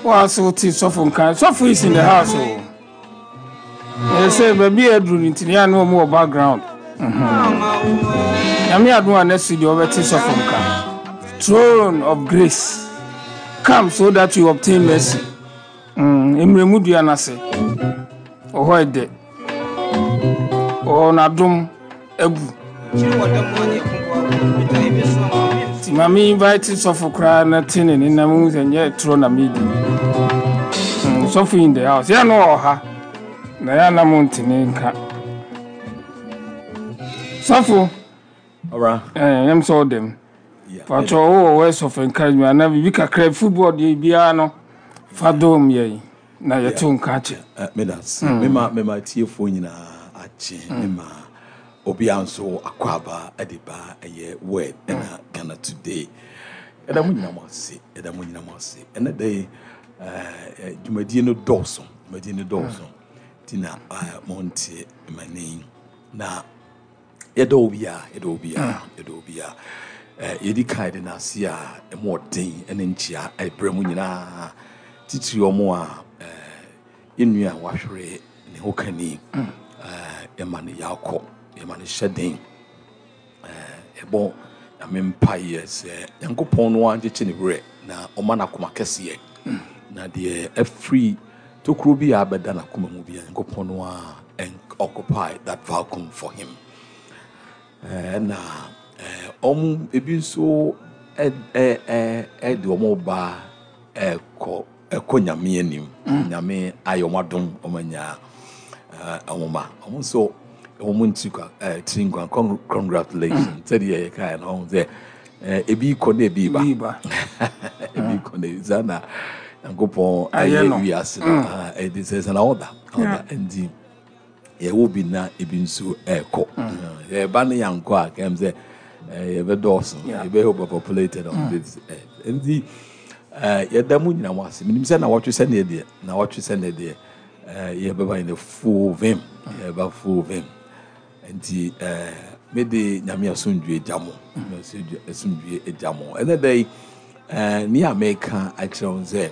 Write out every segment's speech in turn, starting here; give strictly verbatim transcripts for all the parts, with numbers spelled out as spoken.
Woa so wote sɔfo nka. Sɔfo is in the house o. Ɛyɛ sɛ baabi a aduru no nti ne yɛ ne ɔmo wɔ background. Nyame adom a, next week deɛ wɔbɛte sɔfo nka. Throne of grace, come so that you obtain mercy. Mm, mmerɛmu dua no ase ɔhɔ ɛdɛ ɔwɔ n'adom abu. Nti ma me invite sɔfo koraa na te ne ne nam hu sɛ nyɛ torɔ na medi. Mm, sɔfo in the house, yɛ no wɔ ha na yɛ anam ntene nka sɔfo. Ɔbra. Ɛɛ yɛm sɛ ɔdɛm patɔ wowɔ words of encouragement anaa biribi kakra, football deɛ biara no fa dom yɛn na yɛto nka akyɛ. Meda ase. Mema mema tiefoɔ nyinaa akye. Mema obiara nso akɔ aba de ba ɛyɛ Word ɛna Ghana Today. Ɛda mo nyinaa mo ase, ɛda mo nyinaa mo ase. Ɛnɛ da yi, ɛɛ, dwumadie no dɔɔso, dwumadie no dɔɔso nti na ɛɛ montie m'ani na yɛdɔ obiara, yɛdɔ obiara, yɛdɔ obiara. ɛɛ yɛdi kan de n'ase a ɛmu ɔden ɛne nkyia ɛbrɛ mu nyinaa, titiri ɔmo a ɛɛ yɛn nua a wahwere ne ho kani. ɛɛ yɛma no yakɔ, yɛma no hyɛ den. ɛɛ yɛbɔ Nyame mpaeɛ sɛ Nyankopɔn no ankyekye ne werɛ na ɔma no akoma kɛseɛ, na deɛ ɛfiri tokuro bi a abɛda n'akoma mu bi a, Nyankopɔn no a ɛn occupy that vacuum for him. ɛɛ na ɛɛ ɔmo ebi nso ɛ ɛ ɛ ɛde ɔmo ba ɛkɔ ɛkɔ Nyame anim. Nyame ayɛ ɔmo adom, ɔmo anya ɛɛ ɔmo ma ɔmo nso ɔmo nti kwa ɛɛ tiri nkwa. Con- congratulations Sɛdeɛ yɛka yɛ no, ɔmo sɛ ɛɛ ebi kɔ na ebi ba. Bi ba. Ebi kɔ na ebi saa na Nyankopɔn ayɛ ayɛ no. Wiase no, ah, ɛde sɛ sɛ na ɔda ɔda nti yɛwɔ bi na ebi nso ɛɛkɔ. Yɛba ne yankɔ a, kɛm sɛ ɛɛ yɛbɛdɔɔso. Yeah. Yɛbɛyɛ overpopulated on this earth. Nti ɛɛ yɛda mu nyinaa mo ase. Menim sɛ na wɔtwe sɛ neɛ deɛ na wɔtwe sɛ neɛ deɛ ɛɛ yɛbɛba in the full vim, yɛbɛba full vim. Nti ɛɛ mede Nyame asomdwe gya mo, Nyame asomdwe asomdwe gya mo. Ɛnɛ da yi, ɛɛ ne a meka akyerɛ wo sɛ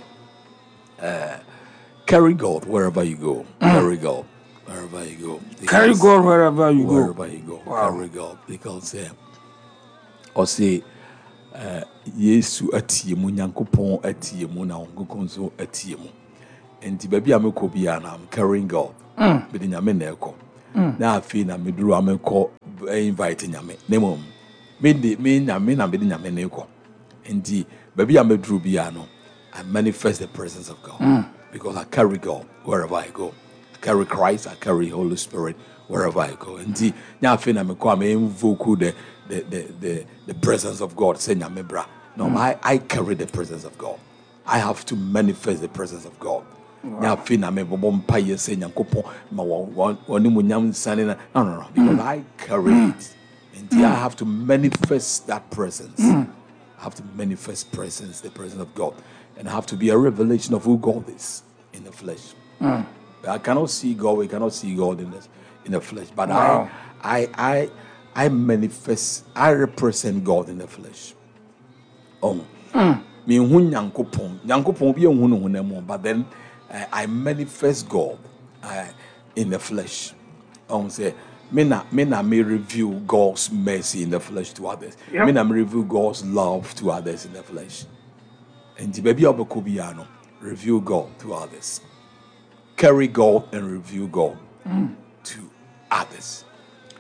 ɛɛ carry God wherever you go, carry God wherever you go. Carry Because- God wherever you go. Wherever you go. Wow. Carry God, because uh, ɔse uh, Yesu atie mu, Nyankopɔn atie mu, na Honhom nso atie mu. Nti baabi a mekɔ biara na I'm carrying God. Mede Nyame na ɛkɔ na afei na meduru a mekɔ eh, invite Nyame, na mmom mede me Nyame na mede Nyame na ɛkɔ. Nti baabi a meduru biara no, I manifest the presence of God because I carry God wherever I go. I carry Christ, I carry Holy Spirit wherever I go. Nti nya afei na mekɔ a me invoke the the the the, the presence of God sɛ Nyame bra. No, I I carry the presence of God. I have to manifest the presence of God. Nya afei na mebɔbɔ mpaeɛ sɛ Nyankopɔn ma wɔ wɔ wɔne mu nyam nsane na no no no because I carry it. Nti I have to manifest that presence. I have to manifest presence, the presence of God. And I have to be a revelation of who God is in the flesh. I cannot see God, we cannot see God in the, in the flesh. But Wow. I, I, I, I manifest, I represent God in the flesh. Oh. Me hu Nyankopɔn. Nyankopɔn bi ehu no honam mu, but then uh, I manifest God uh, in the flesh. Um, say, me na me na me reveal God's mercy in the flesh to others. Yep. Me na me reveal God's love to others in the flesh. Nti baabi a wobɛkɔ biara no, reveal God to others. Carry God and reveal God to others.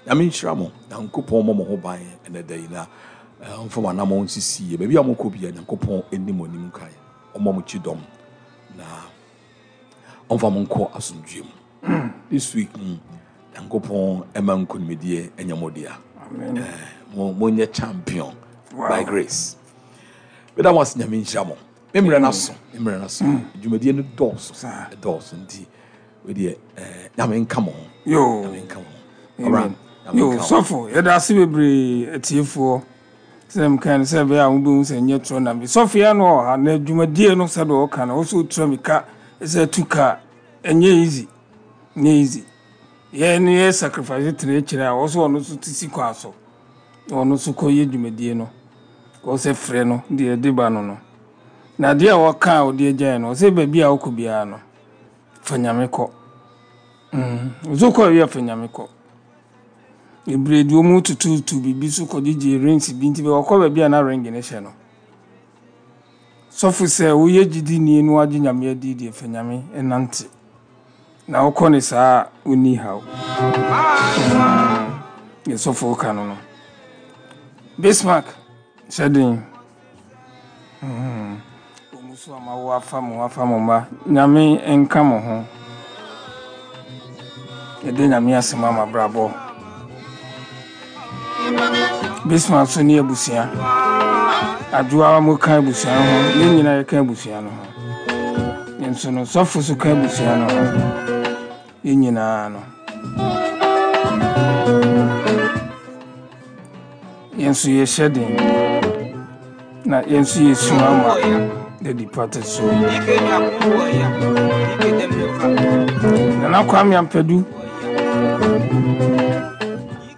Nyame nhyira mo. Nyankopɔn mmɔ mo ho ban ɛnɛ da yi na eh, ɔmfa mo anammɔn nsisi yie. Baabi a mokɔ biara, Nyankopɔn anim mo anim kae, ɔmmɔ mo kyi dɔm na ɔmfa mo nkɔ asomdwie mu. This week mm, Nyankopɔn ɛma nkonimdie ɛnyɛ mo dea. Amen. Eh, mo monyɛ champion Wow. by grace. Meda mo ase. Nyame nhyira mo. Me mmerɛ no so, me mmerɛ no so, dwumadie no dɔɔso. Saa. Ɛdɔɔso nti wedeɛ eh, Nyame nka mo ho. Yo. Nyame nka mo ho. Ɔbra, Amen. Nyame Yo, nka wo. sɔfo, yɛda ase bebree. Atiefoɔ, sɛ mka no sɛ ɛbɛyɛ a wobɛhu sɛ nyɛ torɔ nam bi. Sɔfo yɛ no wɔ ha na dwumadie no, sɛdeɛ ɔka no, wo sɛ wotura mi ka sɛ tu kaa, ɛnyɛ easy, nyɛ easy. Yɛ no yɛ sacrifice tena akyire a wɔ so ɔno nso te si kwan so na ɔno nso kɔyɛ dwumadie no, kɔ sɛ frɛ no deɛ ɛde ba no no Na adeɛ a wɔka a wɔde agyae no, ɔsɛ baabi a wokɔ biara no, fa Nyame kɔ. Mm. Ɔsɛ wokɔ awie a, fa Nyame kɔ. Bebree de wɔn tututu biribi so kɔgyegye rings bi, nti wɔkɔ baabi a na ring no hyɛ no. Sɔfo, sɛ woyɛ gyidini na wagye Nyame adi deɛ, fa Nyame nante. Na wokɔ ne saa a, wonni haw. Yɛ sɔfo ka no no. Bismarck, hyɛ den. Ɔmu so ama wo afa mo afa mo mma. Nyame nka mo ho. Yɛde Nyame asɛm ama brabɔ. Bismarck so ne abusua. Adwoa mo ka abusua no ho. Yɛn nyinaa yɛka abusua no ho. Yɛn nso no, sɔfo so ka abusua no ho. Yɛn nyinaa no, yɛn nso yɛhyɛ den. Na yɛn nso yɛsu ama the departed soul. Nana Kwame Ampadu,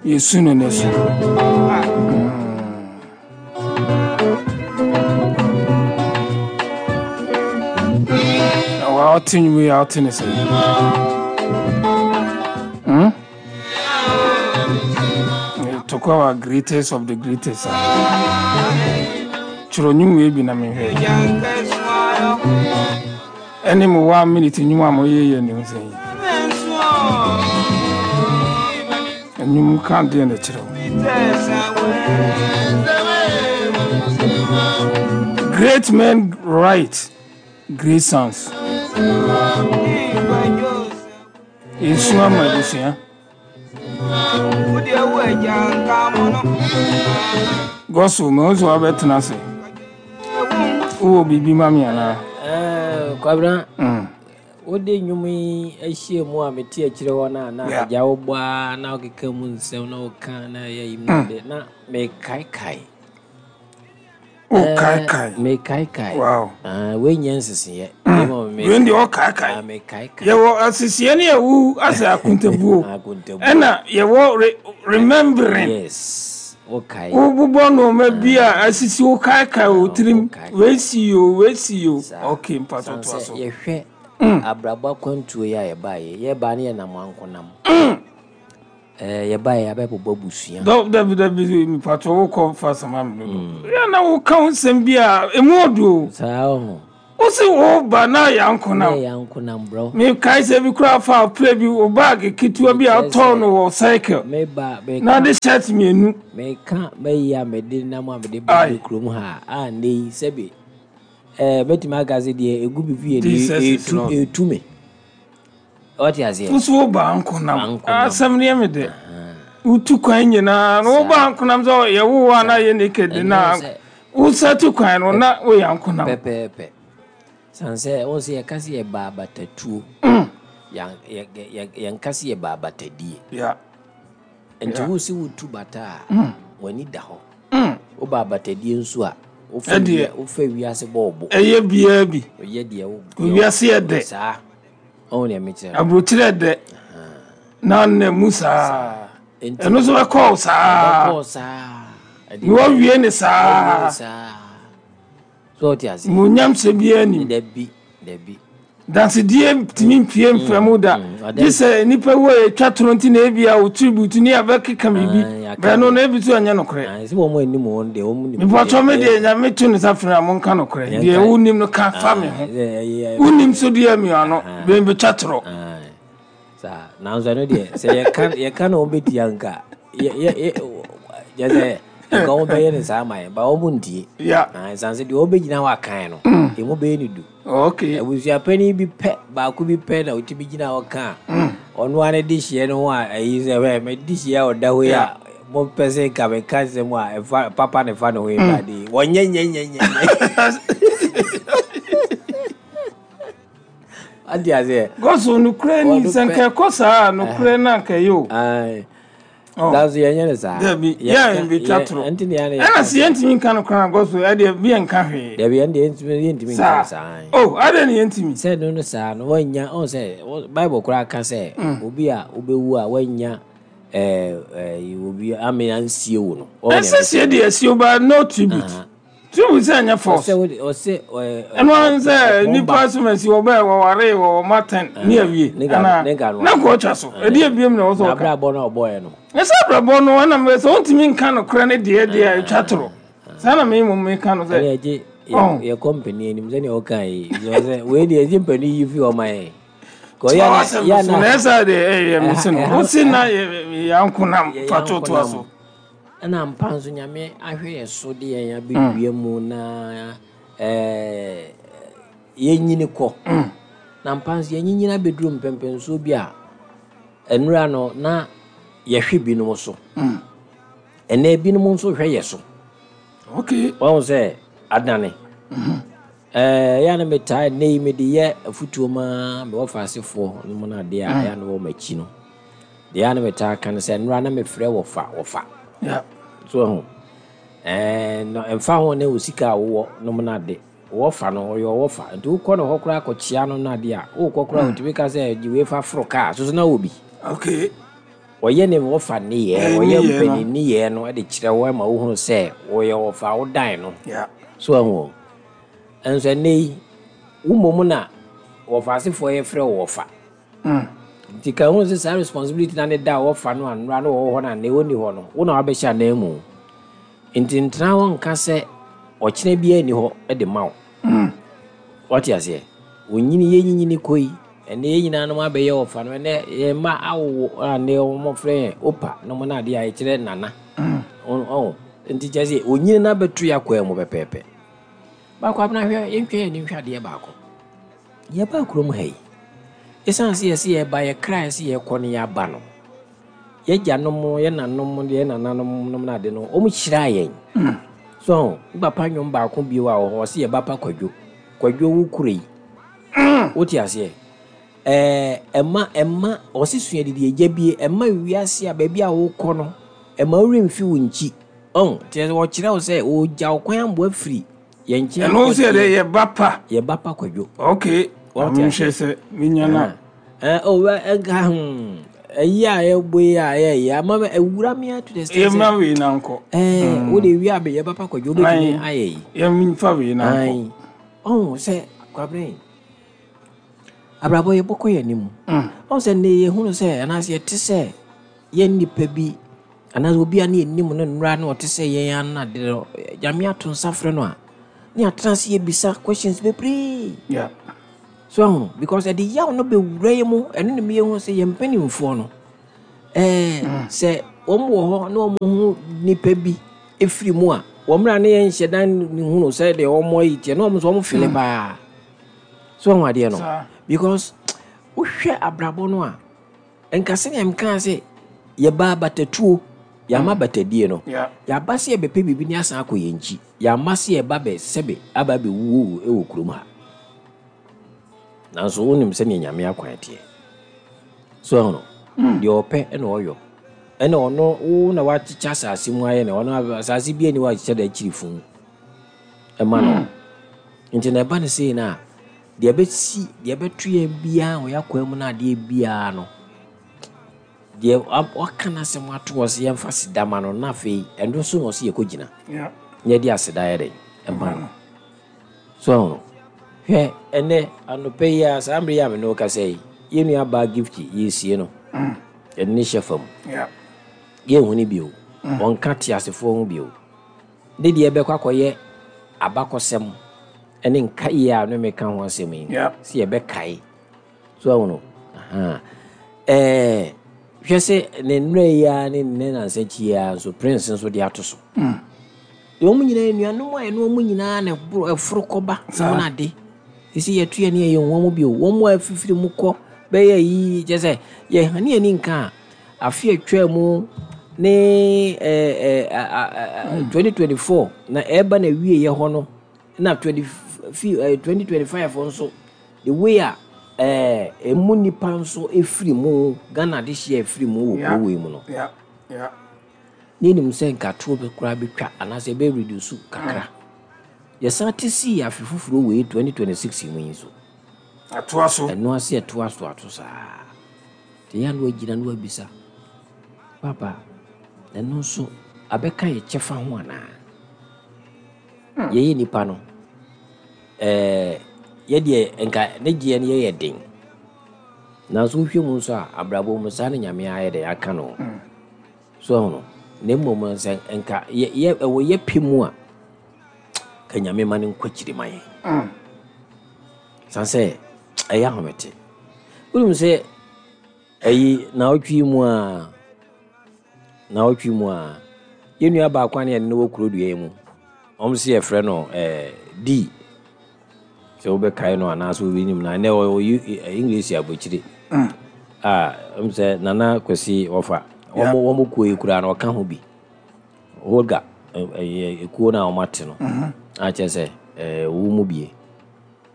yɛsu no ne so. Na wa ɔte nnwom yi a, ɔte ne sɛ. Hmm? Talk about greatest of the greatest. Twerɛ nnwom wei bi na mehwɛ. Ɛne mo one minute nnwom a moyɛ yɛ ne ho sɛ yi. Nnwom ka deɛ na kyerɛ wo. Great men write great songs. Yɛsu ama abusua. Gospel, me nso wabɛtena ase. Wowɔ biribi ma me anaa? Eh, Kwabena, Mm. wode nnwom yi ahyia mu a mete akyire hɔ no a na Yeah. agya wobɔ a na wokeka mu nsɛm na woka na ɛyɛ yi mu de na mekaekae. Wokaekae. Mekaekae. Wow. Ah, wei nyɛ nseseɛ. Mm. Wei deɛ ɔkaekae. Mekaekae. Yɛwɔ aseseɛ ne yɛwu asɛ akontabuo. Akontabuo. Ɛna yɛwɔ re remembering. Yes. Wokae. Wobobɔ nneɛma bi a asisi, wokaekae wɔ tirim. Wokaekae. Wei si o, wei si o. Saa. Okay, mpatɔ Sane toa sɛ so. yɛhwɛ abrabɔ akwantuo yi a yɛbaeɛ, yɛbaa ne yɛnam ankonam. Eh, yɛbaeɛ yɛabɛbobɔ abusua. Dɔ dabi dabi, mpatɔ wokɔ fa sama mi dodo. Yɛ na woka wo nsɛm bi a emu ɔdo o. Saa ɔho. Wosi wo ba na yɛ Na ankonam. yɛ ankonam brɔ. Mekae sɛ bi koraa fa plɛ bi, wo bag ketewa bi a wotɔɔ no wɔ cycle. Meba meka Na de shirt mmienu. Meka bɛyi a mede nam a mede Aye. ba kurom ha a, nnɛ yi sɛbi ɛɛ mɛtumi aka sɛ deɛ egu bi fie no Jesus is etu Lord. etu me. Ɔte aseɛ. Wosi wo ba ankonam. Ankonam. Asɛm no yɛ me dɛ. Wotu kwan nyinaa no, wo ba ankonam sɛ yɛwo wo a na yɛ naked Ɛnyɛ na sɛ- wosa tu kwan no na woyɛ ankonam. Pɛpɛɛpɛ, san sɛ wɔn sɛ yɛka sɛ yɛba abatatuo, yɛn- yɛ- yɛ- yɛnka sɛ yɛba abatadie. Yeah. Nti Yeah. wo si wotu bata a, w'ani da hɔ. Woba abatadie nso a, wofa Ɛdeɛ. wia- wofa wiase bɔ ɔbo. Ɛyɛ biara bi. Ɔyɛ deɛ wo Wiase yɛ dɛ. Saa ɔwo deɛ mekyerɛ no. Aburokyerɛ dɛ. Na nna mu saa. Nti- Ɛno nso bɛkɔɔ wo saa. Ɛbɛkɔɔ saa. Ɛde- Na wawie ne Wawie saa. ne saa so, ɔte ase. Muonyam sɛ biara nim. Dabi dabi. Dansedie tumi mpie mfrɛ mu da. mm, ɔda- Gye sɛ nnipa wu a yɛtwa toro nti na ebi a wo tribute ne abɛkeka biribi. Ah, yɛaka. Bɛno no ebi so ɛnyɛ nokorɛ. Ah, sɛ wɔn anim wɔn deɛ wɔn nim. Mepɔtɔ me deɛ, Nyame to ne sa frɛ a, monka nokorɛ. Yɛnka- Deɛ wonim no, ka fa me ho. Wonim so deɛ mmiano bɛmbɛtwa torɔ. Saa, nanso ɛno deɛ sɛ yɛka yɛka na wɔn bɛtia nka yɛ yɛ yɛ kyɛ sɛ nka wɔn bɛyɛ ne saa ma yɛn ba wɔn ntie. Ya. Ah, ɛsiane sɛ deɛ wɔn bɛgyina hɔ akan no emu bɛyɛ ne du. Okay. Abusuapanin bi pɛ, baako bi pɛ na otumi gyina hɔ ka a ɔno ara de hyia no ho a ɛyi sɛ hwɛ mɛ de hyia a ɔda hɔ yi a mo pɛ sɛ nka mɛ ka nsɛm a ɛfa papa ne fa ne ho yi ba de wɔnyɛ nyɛ nyɛ nyɛ nyɛ adi aseɛ. Gɔso nokorɛ ni. Ɔno Sɛ pɛ. nka ɛkɔ saa a, nokorɛ no anka ɛyɛ o. Ayi. Oh. Nanso yɛnyɛ ne saa. Dabi, Yɛnka- yɛ mbɛtwa yɛ- torɔ. Ɛnti ne yɛn Ɛna sɛ yɛntumi nka nokorɛ a, gɔso ɛdeɛ bi yɛnka hwee. Dabi, ɛn deɛ yɛntumi yɛntumi nka Saa ne saa. O adɛn ne yɛntumi? Sɛ no no saa no wanya ɔn sɛ wɔ- Bible koraa ka sɛ obi a wobɛwu a wanya ɛɛ ɛɛ obi ame ansie wo no. Wɔn Ɛsɛ sie deɛ sie ba, no tribute. So wo sɛ ɛnyɛ force. Ɔsɛ wode ɔsɛ ɛɛ Ɛno ara sɛ nipa so ma si wɔbɛɛ wɔware wɔ maten ne awie ne ga- ana ne ga no. Na kɔ ɔtwa so ɛde ebiem na ɛwɔ sɛ Na ɔka. abrabɔ no a ɔbɔɔɛ no. Ɛsɛ abrabɔ no ɛnam sɛ wontumi nka nokorɛ ne deɛ deɛ a ɛtwa toro saa na me mmom meka no sɛ Ɛne ɛgye Oh. yɛ company anim sɛnea ɔka yi sɛ wei deɛ ɛgye mpanin yi fi ɔma yɛn. Kɔ Tiwa yɛ na asɛm yɛ so na na ɛsɛ deɛ ɛyɛ me se no Ɛha- wosi na yɛ yɛankonam yɛ fa totoa yɛankonam. so. Ɛna mpa nso Nyame ahwɛ yɛ so de yɛn abɛdua mu na ɛɛ yɛnyini kɔ. Na mpa nso yɛnyinyini abɛduru mpɛmpɛnsoɔ bi a nnura no na yɛhwɛ binom so. Ɛnɛ binom nso hwɛ yɛ so. Okay. Wɔn sɛ adane. Ɛɛ yɛ na metaa ne yi mede yɛ afutuo maa mewɔ faasefoɔ no mu no adeɛ a ɛyɛ na wɔ m'akyi no. Deɛ a na metaa ka no sɛ nnura na mefrɛ wɔfa wɔfa. Yeah. So ɛho ɛɛ no ɛmfa ho ne wo sika a wowɔ nom no ade wɔfa no ɔyɛ ɔwɔfa nti wokɔ ne hɔ koraa kɔkyea no no ade a wokɔ koraa wotumi ka sɛ gye wei fa foro kaa soso na wɔ bi. Okay. Ɔyɛ ne wɔfa nneyɛɛ. Ɛɛ, Ɔyɛ nneyɛɛ no. mpanin nneyɛɛ no de kyerɛ wo ma wohunu sɛ wɔyɛ wɔfa wo dan no. Yeah. So ɛho ɛnso ɛnnɛ yi wo mmom na wɔfa asefoɔ yɛfrɛ wo wɔfa nti ka hu sɛ saa responsibility na ne da a wɔfa no anora no wɔwɔ hɔ no anɛ wɔnni hɔ no wo na wabɛhyɛ anan mu nti ntena hɔ nka sɛ ɔkyena biara nni hɔ de ma wo. Wɔte aseɛ onyini yɛnyinyini kɔ yi ɛnɛ yɛn nyinaa nom abɛyɛ wɔfa no ɛnɛ yɛn mma awowo a ne wɔmɔfrɛ yɛn opa nom no adeɛ a yɛkyerɛ nana ɔn ɔn nti kyerɛ sɛ onyini no abɛto yɛ akwan mu pɛpɛɛpɛ. Baako abena hwɛ yɛntwa yɛn ani nhwɛ adeɛ baako. Yɛbaa kurom ha yi ɛsiane sɛ yɛsɛ yɛba yɛkra yɛsɛ yɛkɔ no yɛaba no yɛgyanom yɛ nanom yɛ nananom nom no ade no ɔmo hyiraa yɛn so wo papa nnwom baako bio a wɔ hɔ ɔsɛ yɛba pa Kwadwo Kwadwo wo kuro yi wote aseɛ ɛɛ ɛma ɛma ɔsi sua didi agya bie ɛma wiase a baabi a wokɔ no ɛma woremfi wo nkyi ɔn kyerɛ sɛ wɔkyerɛ wo sɛ wɔgya wo kwan amboa firi yɛn nkyɛn. Ɛno nso yɛ dɛ yɛba pa. Yɛba pa Kwadwo. Okay. Wɔte menhwɛ sɛ menya no. Ɛɛ o ɛnka hmm ɛyi a yɛbɔ yi a yɛyɛ ama me ɛwura mi ato the extent sɛ yɛma wei na nkɔ. Ɛɛ wode wie a yɛba pa Kwadwo wobɛtumi ayɛ yi. Yɛmfa wei na nkɔ. Ayi ɔn sɛ Kwabena abrabɔ yɛbɔkɔ yɛn anim ɔn sɛ nnɛ yɛhunu sɛ anaasɛ yɛte sɛ yɛn nnipa bi anaasɛ obi a ne yɛnim no nnora na ɔte sɛ yɛn ano ade no Nyame ato nsa frɛ no a ne atena ase yɛbisa questions bebree. Yeah. So ahu because ɛde yaw no bɛwura yɛ mu ɛno ne meyɛhu sɛ yɛn mpanimfoɔ no ɛɛ sɛ wɔn wɔ hɔ na wɔn ho nipa bi efiri mu a wɔn mmerɛ ne yɛn nhyɛ dan ne hunu sɛ deɛ wɔn ayi teɛ na wɔn nso wɔn fele paa. So ahu adeɛ no Saa. because wohwɛ abrabɔ no a nka sɛnea mkaa sɛ yɛba abatatuo yɛama batadie no Yeah. yɛaba sɛ yɛbɛpɛ biribi ne asan akɔ yɛn nkyi yɛama sɛ yɛba bɛ sɛbe aba bɛwuo wɔ kurom ha nanso wonim sɛnea Nyame akwan teɛ so ɛho no deɛ ɔpɛ ɛna ɔyɔ ɛna ɔno wo na wakyekyɛ asase mu ayɛ na ɔno asase bi ani wakyekyɛ da akyiri fun ɛma no nti na ɛba no sei no a deɛ ɛbɛsi deɛ ɛbɛto yɛn biara wɔ yɛakwan mu no adeɛ biara no deɛ wa- waka n'asɛm ato hɔ sɛ yɛmfa seda ma no na afei ɛno nso na ɔsɛ yɛkɔgyina Yeah. na yɛde aseda yɛ dɛn ɛma no so ɛho no hwɛ ɛnɛ anɔpɛ yi a saa mmere yi a me ne wo kasa yi yɛn nua baa Gift yɛsie no yɛde ne hyɛ fam. Yeah. Yɛnhu no bio ɔnka te asefoɔ ho bio ne deɛ ɛbɛkɔ akɔyɛ abakɔsɛm ɛne nkaeɛ a ne meka ho asɛm yi Yeah. sɛ yɛbɛkae so ahu no aha ɛɛ hwɛ sɛ ne nnura yi a ne ne nansa akyi yi a nso Prince nso de ato so wɔn nyinaa nnuanom a ɛne wɔn nyinaa na ɛboro ɛforo kɔba Saa. wɔn ade sisi yɛto yɛn ne yɛn wɔn bio wɔn mu a afifiri mu kɔ bɛyɛ yi kyɛ sɛ yɛhane yɛn ni nka a afe atwa mu ne ɛɛ ɛɛ twenty twenty four na ɛreba na wie yɛ hɔ no na twenty fi ɛɛ twenty twenty five nso the way a ɛɛ emu nipa nso efiri mu Ghana de hyia efiri mu wɔ Yeah. kuro wei mu no Yeah. Yeah. ne nim sɛ nkatoɔ bi koraa bɛtwa anaasɛ ɛbɛ reduce kakra yɛsan te sii afe foforɔ wei twenty twenty-six mu yi nso Atoa so. Ɛno ase ɛtoa so ato saa nti yɛ a na wagyina na wabisa papa ɛno nso abɛka yɛ kyɛfa ho anaa. Yɛyɛ nipa no, ɛɛ yɛdeɛ nka ne gyeɛ no yɛyɛ den. Nanso wohwɛ mu nso a, abrabɔ mu saa ne Nyame ayɛ dɛ aka no. So ɛho no, na mmom sɛ nka yɛ yɛ ɛwɔ yɛ pɛ mu a, ka Nyame ma no nkɔ akyiri ma yɛn. Mm. San sɛ ɛyɛ ahomete. Wonim sɛ ɛyi naawɔtwe mu a naawɔtwe mu a yɛn nua baako a ne yɛne no wɔ kuro dua yi mu, ɔmo si yɛfrɛ no ɛɛ D, sɛ wobɛkae no anaasɛ wobɛnim no, ɛnɛ ɔwɔ English aburokyire a ɔmo sɛ Nana Kwasi wɔfa wɔn wɔn kuo yi koraa no, ɔka ho bi. Holga ɛyɛ ekuo no a wɔn ate no a kyerɛ sɛ ɛɛ wo mu bie,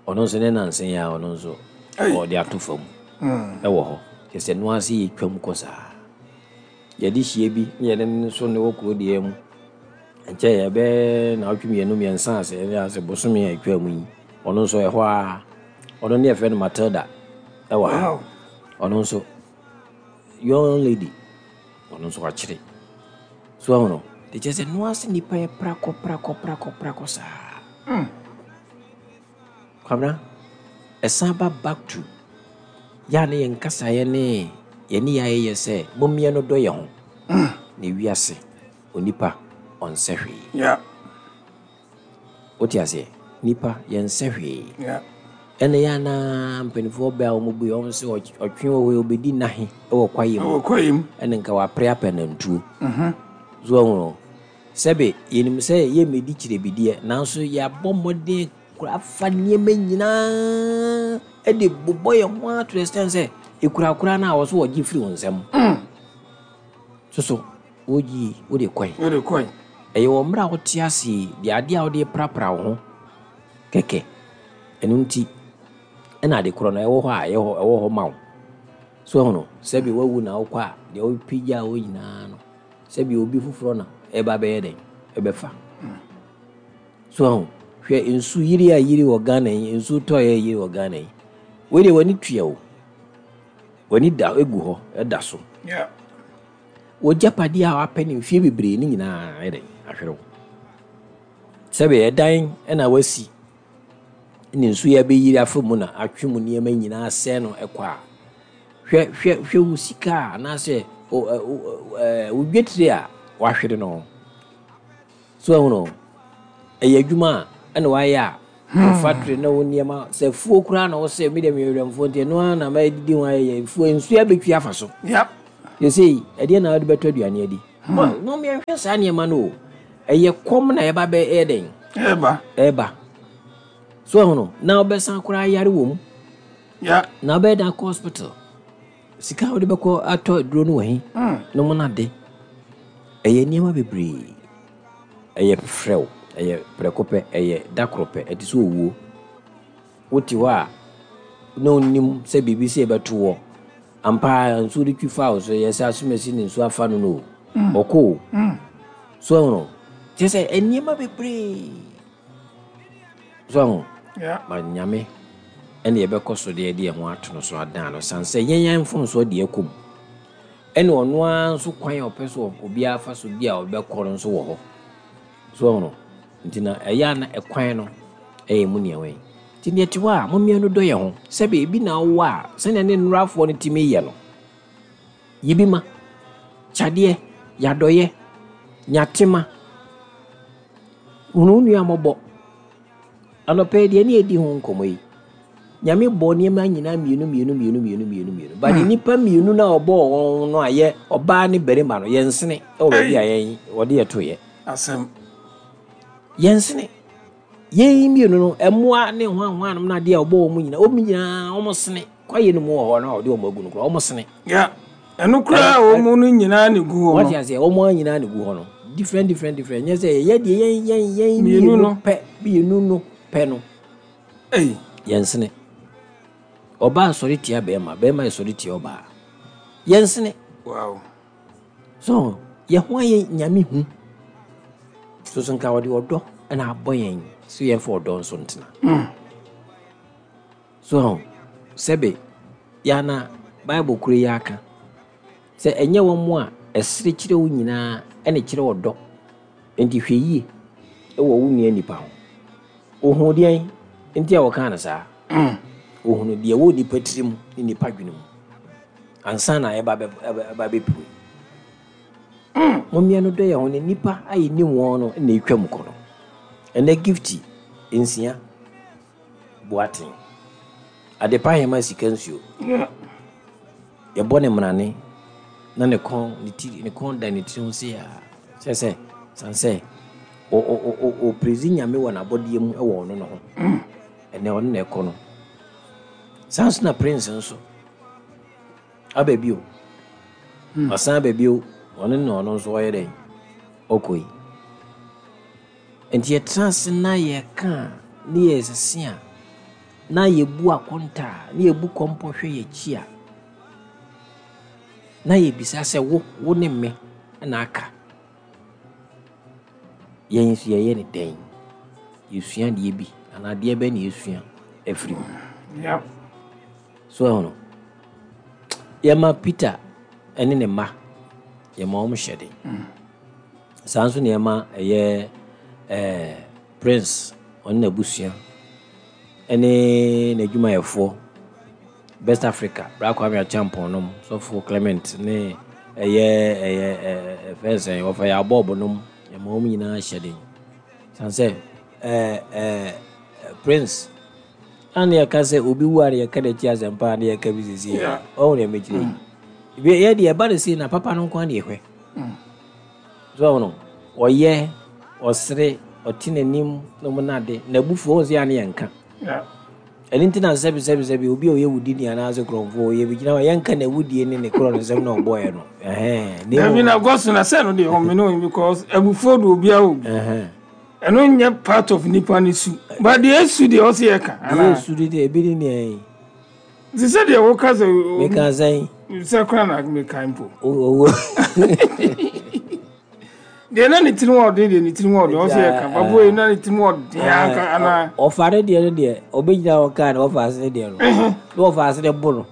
ɔno nso ne nansa yi a ɔno nso ɔde ato fam ɛwɔ hɔ. Kyerɛ sɛ noa ase yɛ twam kɔ saa. Yɛde hyia bi ne yɛde ne nso ne wɔ kuro deɛ mu nkyɛn, yɛbɛɛ naawɔtwe mmienu mmiɛnsa ase ɛne ase bosome a atwa mu yi, ɔno nso ɛhɔ a ɔno ne yɛfrɛ no Matilda ɛwɔ ha. Wow. Ɔno nso young lady, ɔno nso wakyere so ɛho no de kyerɛ sɛ noa ase nipa yɛ prakɔ prakɔ prakɔ prakɔ saa. Kwabena, ɛsan ba back to yɛa ne yɛn kasaeɛ ne yɛne yɛ ayɛyɛ sɛ mommeɛ no dɔ yɛn ho na ewiase onipa ɔnsɛ hwee. Yeah. Wote aseɛ? Nipa yɛnsɛ hwee. Yeah. Ɛna yɛ anaa mpanimfoɔ bɛ a wɔn bu yɛ wɔn sɛ ɔtwe wɔ hɔ yi, obɛdi nahe ɛwɔ kwaeɛ mu. Ɛwɔ kwaeɛ mu. Ɛne nka wapere apɛ nantuo so ɔhu no sɛbe yɛnim sɛ yɛmmɛdi kyerɛbideɛ, nanso yɛabɔ mmɔden kora afa nneɛma nyinaa ɛde bobɔ yɛn ho a to the extent sɛ ekurakura no a wɔ so wɔgye firi wo nsam soso wogyi wode kɔe. Wode kɔe. Ɛyɛ wɔ mmerɛ a wote ase yi deɛ, adeɛ a wode prapra wo ho kɛkɛ. Ɛno nti ɛna ade korɔ no ɛwɔ hɔ a ɛwɔ hɔ ɛwɔ hɔ ma wo so ɛho no, sɛbi wawu na wokɔ a, deɛ wopagya wo nyinaa no, sɛbi obi foforɔ na ɛba bɛyɛ dɛn ɛbɛfa so. Ɛho hwɛ, nsu yiri a yiri wɔ Ghana yi, nsu tɔeɛ yiri wɔ Ghana yi, wei deɛ w'ani tua o, w'ani da egu hɔ ɛda so. Yeah. Wɔgyapadeɛ a wapɛ ne mfie bebree ne nyinaa ɛdɛn ahwere wo. Sɛbi ɛdan ɛna wasi ne nsuo yi abɛyiri afa mu na atwe mu nneɛma nyinaa sɛɛ no ɛkɔ a, hwɛ hwɛ hwɛ wo sika a anaasɛ wo ɛ wo ɛɛ wo dwetire a wahwere no so. Ɛho no ɛyɛ adwuma a ɛna wayɛ a wo factory ne wo nneɛma sɛ fuo koraa na wɔsɛ mi deɛ meyɛ werɛmfoɔ nti ɛno ara na mɛdidi ho ayɛ fuo, nsuo abɛtwi afa so. Yep. Yɛsɛ ɛdeɛ na wode bɛtɔ aduane adi no, yɛnhwɛ saa nneɛma no o, ɛyɛ kɔm na yɛba bɛ ɛyɛ dɛn. Ɛba. Ɛba so, ɛho no na wobɛsan koraa yare wɔ mu. Yeah. Na wobɛyɛ dan kɔ hospital, sika a wode bɛkɔ atɔ aduro no wɔ he no mo no ade. Ɛyɛ nneɛma bebree, ɛyɛ frɛw, ɛyɛ prɛko pɛ, ɛyɛ da koro pɛ, ɛte sɛ owuo. Wote hɔ a na onim sɛ biribi sɛ ɛbɛto wɔ ampa, nsuo de twi fa wo so, yɛ sɛ asomasi ne nsuo afa no no o, ɔkɔ o. So ɛho no kyerɛ sɛ nneɛma bebree so ɛho. Yeah. Ma Nyame ɛne yɛbɛkɔ so deɛ yɛde yɛn ho ato no so adan no san sɛ yɛn yɛn mfomsoɔ deɛ ɛkɔ mu, ɛne ɔno ara nso kwan a ɔpɛ so obiara fa so bi a ɔbɛkɔ no nso wɔ hɔ so. Ɛho no nti na ɛyɛ a na ɛkwan no ɛyɛ mu nea wɔn nti deɛ te hɔ a mommea no dɔ yɛn ho, sɛbi ebi na wowɔ a sɛnea ne nnurafoɔ no tumi yɛ no, yi bi ma kyadeɛ yɛadɔyɛ nyatema hunu wo nua mmɔbɔ. Anɔpɛ yi deɛ ne yɛdi ho nkɔmmɔ yi, Nyame bɔ nneɛma nyinaa mmienu mmienu mmienu mmienu mmienu mmienu, but nnipa mmienu no a ɔbɔɔ wɔn no a yɛ ɔbaa ne barima no, yɛnsene ɛwɔ baabi a yɛn wɔde yɛ toyɛ. Asɛm. Yɛnsene yɛn mmienu no, ɛmmoa ne hwanhwanom no adeɛ a ɔbɔ wɔn nyinaa, wɔn nyinaa wɔn sene kwaeɛ no mu wɔ hɔ no a ɔde wɔn agu no koraa, wɔn sene. Yeah. Ɛno koraa a wɔn mu no nyinaa ne gu hɔ wɔte no. Aseɛ, wɔn nyinaa ne gu hɔ no different different different, nyɛ sɛ yɛyɛ deɛ yɛn yɛn yɛn mmienu mmienu no. Pɛ mmienu no pɛ no. Ei. Yɛnsene ɔbaa sɔre tia bɛrima, bɛrima yɛ sɔre tia ɔbaa, yɛnsene. Wow. So yɛn ho ayɛ Nyame hu soso nka wɔde ɔdɔ ɛna abɔ yɛn so, yɛmfa ɔdɔ nso ntena so. Sɛbe yɛana Bible koro yi aka sɛ ɛnyɛ wɔn mo a ɛsere kyerɛ wo nyinaa ɛne kyerɛ ɔdɔ, nti hwɛ yie. wɔ wo nua nipa ho. Ohun deɛn nti a wɔkaa no saa? Ohunu deɛ wɔ nipa tirim ne nipa dwene mu ansa na ɛba bɛ ɛba bɛpue. Mommea no dɔ yɛn ho ne nipa a yɛnim wɔn no na ɛtwa mu kɔ no. Ɛnɛ Gifty Nsia Boaten, Adepa Hema Sika Nsuo, yɛbɔ ne mmarane na ne kɔn ne ti ne kɔn da ne tiri ho sei a, kyerɛ sɛ san sɛ ɔprɛsi Nyame wɔ n'abɔdeɛ mu wɔ ɔno no ho. Ɛnɛ ɔno na ɛkɔ no. Saa nso na Prince nso aba bio. Ɔsan aba bio, ɔno na ɔno nso ɔyɛ dɛn? Ɔkɔ yi. Nti yɛtena ase na yɛka a, ne yɛsese a, na yɛbu akonta a, na yɛbu kɔmpɔ hwɛ yɛkyi a, na yɛbisa sɛ wo, wo ne me na aka. Yɛn nso yɛyɛ ne dɛn? Yɛsua adeɛ bi, anaa adeɛ bɛn na yɛsua afiri mu? Yep. So ɛho no, yɛma Peter ne ne mma, yɛma wɔn hyɛ den. Saa nso na yɛma ɛyɛ ɛɛ Prince, ɔne n'abusua ne n'adwumayɛfoɔ, Best Africa, Bra Kwame Acheampong nom, Sɔfo Clement ne ɛyɛ ɛyɛ ɛɛ fɛn sɛn wɔfa yɛ abɔɔbo nom, yɛma wɔn nyinaa hyɛ den. San sɛ ɛɛ ɛɛ Prince ana yɛka sɛ obi wu a na yɛka n'akyi asɛmpa a na yɛka bi sisi Yeah. ɔho deɛ mɛkyerɛ yi. Bi yɛ deɛ ɛba ne sei na papa no nko ara na yɛhwɛ. So ɔho no, ɔyɛ, ɔsere, ɔte n'anim na ɔmo nade, n'abufuo ɔho sɛ yɛ a ne yɛnka. Yeah. Ɛno nti na sɛbi sɛbi sɛbi obi a ɔyɛ wudini anaasɛ kurɔmfoɔ yɛ bi gyina hɔ yɛnka n'awudie ne ne korɔ ne nsɛm na ɔbɔɛ no. Ɛhɛn. Na Dabi mmom- na gɔso na sɛ no deɛ ɔme no, because abufuo de obiara wɔ bi. Ɛhɛn. Ɛno nyɛ part of nipa ne su, but deɛ esu deɛ ɔsi yɛ ka. Deɛ Anaa esu de deɛ ebi ne nea yi. Te sɛ deɛ woka sɛ Meka sɛn? Sɛ kora na meka mpo. Owó. Deɛ na ne tirim ɔden deɛ, ne tirim ɔden ɔsi yɛ ka papa yi na ne tirim ɔden anka anaa? Ɔfa ne deɛ no deɛ, ɔbɛgyina hɔ kaa na ɔfa ase ne deɛ no. Na ɔfa ase ne bo no.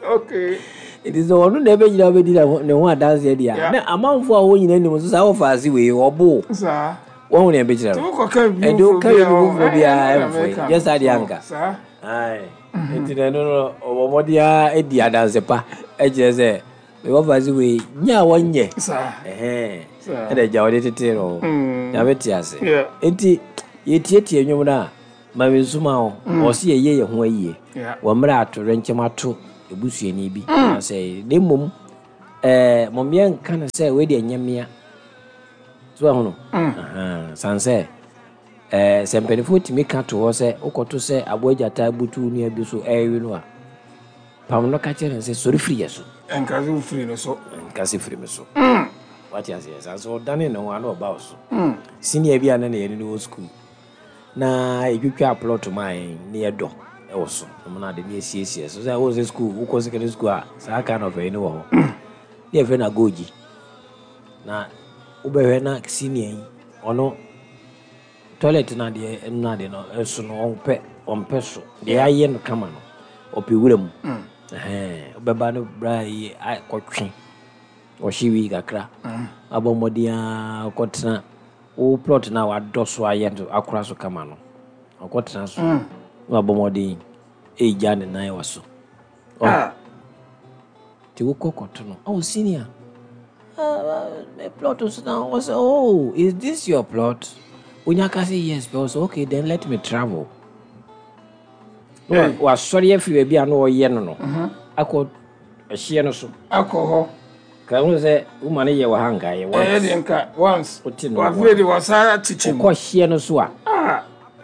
Okay. Nti sɛ ɔno na ɛbɛgyina hɔ bɛdi ne ho- ne ho adanseɛ deɛ a, Yeah. na amanfoɔ a wɔn nyinaa nim nso saa ɔfa ase wei ɔbo. Saa. Wɔn ho na ɛbɛkyerɛ Tí no. wokɔka bi Ɛnti woka bi foforɔ biara ɛmfo yi. Nyɛ saa deɛ anka. Saa. Aye. Nti na ɛno no ɔbɔ mmɔden ara di adanse pa ɛkyerɛ sɛ wɔfa ase wei nyɛ a wɔnyɛ. Saa. Ɛhɛn. Saa. Ɛna agya wɔde tete no. Mm. Nyame te ase. Yeah. Nti yɛtietie nnwom no a, ma me nsoma wo. Ɔse yɛyɛ yɛn ho ayie. Yeah. Wɔ mmerɛ a atorenkyɛm ato ebusuani bi. Anaasɛ na mmom ɛɛ mɔmmea nka no sɛ wei deɛ nyɛ mmea. So ɛho no. Ahan. San sɛ ɛɛ sɛ mpanimfoɔ tumi ka to hɔ sɛ wokɔto sɛ aboa gyata butu wo nua bi so ɛrewe no a, pam no ka kyerɛ no sɛ sɔre firi yɛ so. Nka sɛ wofiri no so. Nka sɛ firi me so. Wate aseɛ? San sɛ ɔdane ne ho a na ɔba wo so. Senior bi a na ne yɛne no wɔ school na yɛtwitwa plot ma yɛn ne yɛdɔ ɛwɔ so ɔmo na ade ne yɛsiesie so sɛ wɔn sɛ school wokɔ secondary school a, saa kind of ɛyi ne wɔ hɔ ne yɛfrɛ no agogyi. Na wobɛhwɛ na senior yi ɔno toilet no adeɛ ɛno no adeɛ no ɛso no, ɔmpɛ ɔmpɛ so deɛ ayɛ no kama no, ɔpɛ wura mu. Ɛhɛn, wobɛba no bra yi akɔtwe ɔhye wi kakra abɔ mmɔden a kɔtena wo plot no a wadɔ so ayɛ no akora so kama no, ɔkɔtena so na wabɔ mmɔden ɛgya ne nan wɔ so. Ɔ- Ah. Nti wokɔ kɔto no, "Oh senior, uh, my plot so na." Wɔ sɛ, "Oh, is this your plot?" Wonya ka sɛ yes pɛ, wɔ sɛ, "Okay, then let me travel." Na wa- Hey. wasɔre afiri baabi a na ɔyɛ no no akɔ ɛhyeɛ no so. Akɔ hɔ. Ka ho sɛ woma no yɛ wɔ ha nka yɛ Ɛyɛ once. deɛ nka once. Wote no. Wafei de wasa akyekyɛ mu. Wokɔ hyeɛ no so a, Ah.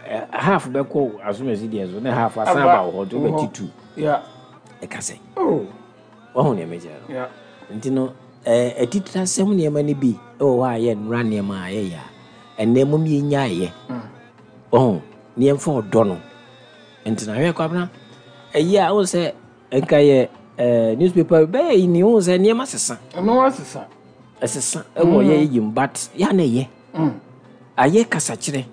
eh, half bɛkɔ asomasi deɛ so ne half asan Aba aba wɔ hɔ nti wɔ hɔ. wobɛte two. Yeah. Ɛka sɛ Oh. wahu nea mekyerɛ no? Yeah. Nti no eh, atitire asɛm nneɛma no bi ɛwɔ hɔ a yɛ nnora nneɛma a yɛyɛ a ɛnɛ mom yɛnyaayɛ ɔho ne yɛmfa ɔdɔ no. Nti na hwɛ Kwabena, ɛyi a wohu sɛ nka yɛ eh, newspaper bɛyɛ yi ni, wohu sɛ nneɛma sesa. Ɛno asesa. Ɛsesa ɛwɔ yɛ yim, but yɛ na ɛyɛ ayɛ kasakyerɛ,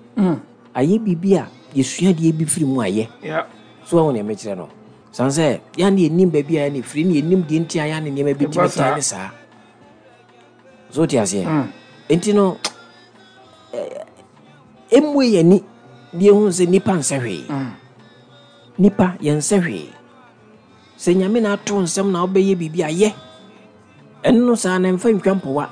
ayɛ biribi a yɛsua deɛ bi firi mu ayɛ. Yeah. So wahu nea mekyerɛ no? San sɛ yɛa ne yɛnim baabi a yɛne firi ne yɛnim deɛ nti a yɛa ne nneɛma bi Ɛba tumi saa. tan ne saa so, wote aseɛ? Enti no Ɛmmue yɛni deɛ hu sɛ nipa nsɛ hwee. Nipa yɛnsɛ hwee. Sɛ Nyame na ato nsɛm na wobɛyɛ biribi a yɛ. Ɛno no saa na mfa ntwa mpɔwa.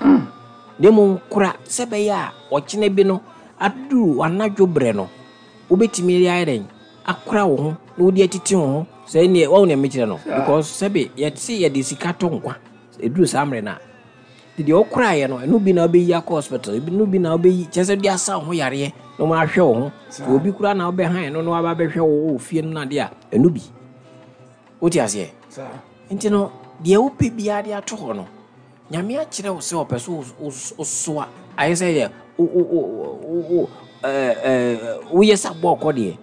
Na mmom kora sɛ bɛyɛ a ɔkyena bi no aduru anadwo berɛ no, wobɛtumi de ayɛ dɛn akora wo ho na wode atete wo ho sɛ neɛ wawo nea mekyerɛ no, because sɛbe yɛte yɛde sika tɔ nkwa. Ɛduru saa mmerɛ no a, nti deɛ wokoraeɛ no, ɛno bi na wobɛyi akɔ hospital, ɛno bi na wobɛyi kyerɛ sɛ de asa wo ho yareɛ na wɔn ahwɛ wo ho. Sɛ obi koraa na wobɛhan no na waba bɛhwɛ wo wɔ fie no na adeɛ a, ɛno bi. Wote aseɛ? Nti no deɛ wopɛ biara de ato hɔ no, Nyame akyerɛ wo sɛ ɔpɛ so wosoa ayɛ sɛ yɛ woyɛ sɛ abɔ ɔkɔ deɛ.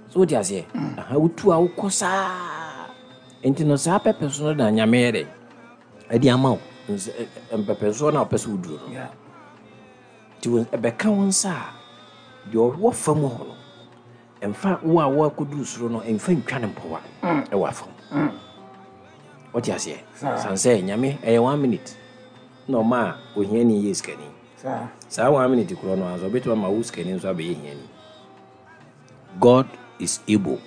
So wote aseɛ? Aha, wotu a wokɔ saa. Nti no saa pɛpɛ so no na Nyame yɛ dɛ ɛde ama wo mpɛpɛnsoɔ no a wopɛ sɛ woduru no. Nti ɛbɛka wo nsa a, deɛ ɔwɔ fam hɔ no, ɛmfa wo a woakɔduru soro no, ɛmfa ntwa ne mpɔwa ɛwɔ afam. Wote aseɛ? San sɛ Nyame ɛyɛ one minute na ɔma a ohiani yɛ sikani. Saa one minute korɔ no anso ɔbɛtumi ama wo sikani nso abɛyɛ hiani. God is able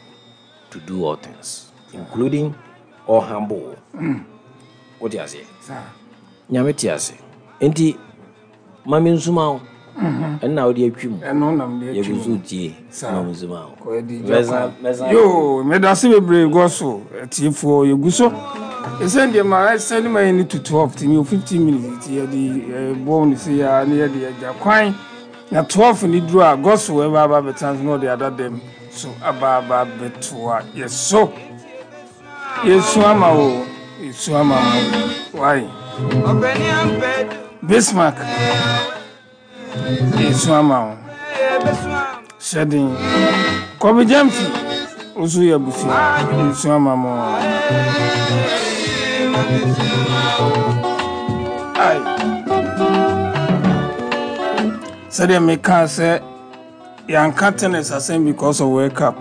to do all things, including all humble. Wote aseɛ? Nyame te ase. Nti ma me nsuma wo. Ɛnna wode atwi mu. Ɛno nam de atwi Yɛgu so mu. tie. Saa. Ma me nsuma wo. Kɔyɛ Mɛsan kwan. mɛsan. Yo, medase bebree gɔ so atiefoɔ, yɛgu so ɛsɛn deɛ ma ɛsɛ ne ma yɛ ne to twelve timi o fifteen minutes, nti yɛde bɔ ne se ya ne yɛde agya kwan na twelve ne duru a, gɔ so ɛba aba bɛtena so na ɔde ada dɛm so aba aba bɛtoa yɛ so. Yɛsu ama wo, yɛsu ama mo wai. Bismarck, yɛsu ama wo, hyɛden kɔbi gyamfi wo so yɛ abusua, yɛsu ama mo. Ai, sɛdeɛ mekaa sɛ yɛanka tennis asɛm because of World Cup,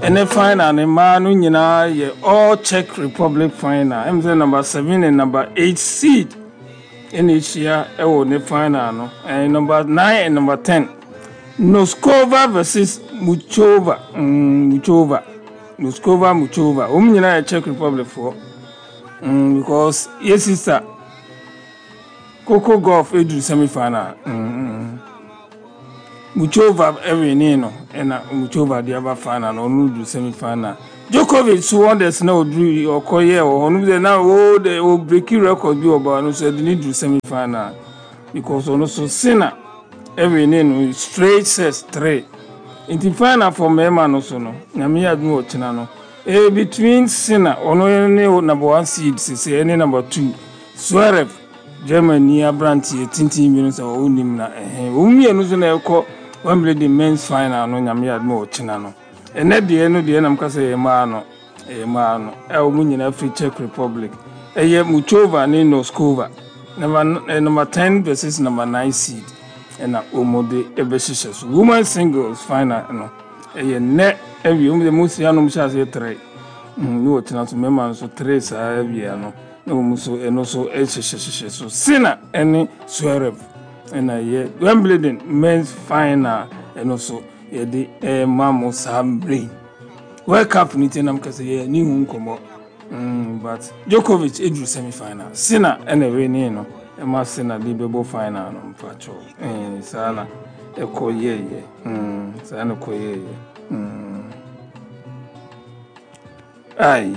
ɛne final ne mmaa no nyinaa yɛ all Czech Republic final. Ɛm sɛ number seven and number eight seed ɛna ahyia ɛwɔ ne final no, ɛɛ number nine and number ten, Noskova versus Muchova. mm, muchova Noskova, Muchova, wɔn nyinaa yɛ Czech Republic foɔ mm, because yɛ sister Coco Gauff eduru semi final. mm, mm. Muchova ɛwini no, ɛna Muchova de aba final no, ɔno duru semi final. Djokovic so wonders na oduru ɔkɔyɛ wɔ hɔ no sɛ na o de o break record bi wɔ ba no so, ɛde ne duru semi final because ɔno so Sinner ɛwini no straight sets three. Nti final for mmarima no so no, Nyame yɛ adum, ɔkyena no eh between Sinner, ɔno ne number one seed sese, ɛne number two Zverev, Germany aberanteɛ tenten bi no sɛ ɔwɔ nim na ɛhɛn wɔn mmienu so na ɛkɔ Wimbledon men's final no. Nyame yɛ adum, ɔkyena no. Ɛnɛ deɛ no deɛ nam kasa yɛ mmaa no, ɛyɛ mmaa no a wɔn nyinaa firi Czech Republic, ɛyɛ Muchova ne Noskova, number eh, number ten versus number nine seed, ɛna wɔn de ɛbɛhyehyɛ so. Women singles final no ɛyɛ nnɛ awie, wɔn de mo si anom hyɛ aseɛ tere ne wɔkyena so, mmarima nso tere saa awie no na wɔn nso ɛno nso ɛhyehyɛhyehyɛ so. Sinner ɛne Zverev ɛna ɛyɛ Wimbledon men's final, ɛno nso yɛde ɛma mo saa mmerɛ yi. World Cup ne ti nam kasa yɛ ne ho nkɔmmɔ. mm, but Djokovic eduru semi final, Sinner ɛna ɛwɛ no ɛma Sinner de bɛbɔ final no mpakyɛw. ɛɛ saa na ɛkɔ yɛɛyɛ. mm, saa na ɛkɔ yɛɛyɛ. mm. Ai.